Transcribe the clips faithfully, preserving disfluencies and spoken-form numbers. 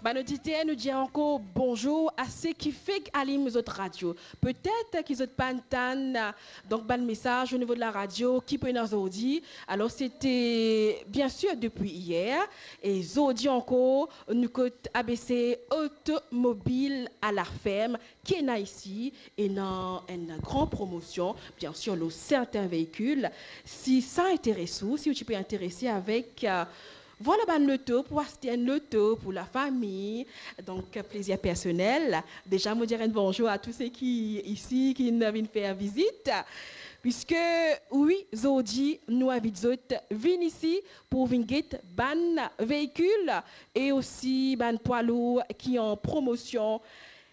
Bann oditer, nou dir ankor bonzour a seki fek alim zot radio. Petet ki zot pa'nn tann, donk, bann mesaz o nivo de la radio ki pou ena zordi. Alor, sete, bien sir, depi iyer. E zordi ankor, nou kot A B C Otomobil a Laferm, ki ena isi, ena enn gran promosion, bien sir, lor sertin veikil. Si sa interes ou, si ou ti pe interese avek, eh, vwala, bann loto, pou aste enn loto pou lafami, donk, plezir personel. Deza, mo dir enn bonzour a tou seki isi, ki'nn vinn fer vizit. Piske, wi, zordi, nou invit zot vinn isi pou vinn get bann veikil e osi bann pwa lour ki an promosion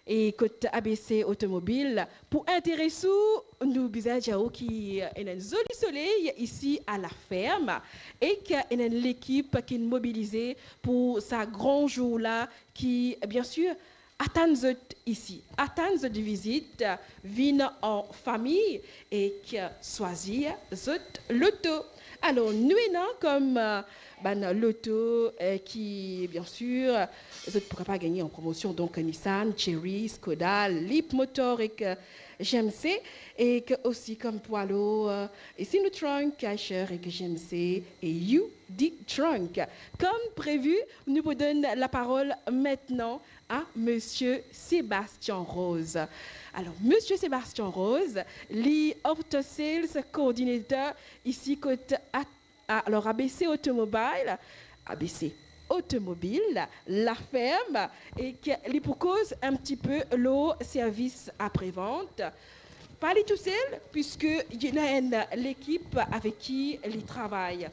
e kot A B C Otomobil. Pou interes ou, nou bizin dir ou ki ena enn zoli soley isi a Laferm ek ena enn lekip ki'nn mobilize pou sa gran zour la ki, bien sir, atann zot isi, atann zot vizit, vinn an fami ek swazir zot loto. Alor, nou ena kom, eh, bann loto, eh, ki, bien sir, zot pou kapav gagne an promosion, donk Nissan, Chery, Skoda, Leapmotor ek, eh, G M C, ek osi kom pwa lour, eh, Sinotruk, Eicher ek G M C e U D Truck. Kom previ, nou pou donn laparol aster a Misie Sébastien Rose. Alor, Misie Sébastien Rose, li After Sales Coordinator isi kot A-, alor, A B C Automobile, A B C Automobile, Laferm, ek li pou koz enn tipe lor servis aprevant. Pa li tousel, piske li ena enn lekip avek ki li travay.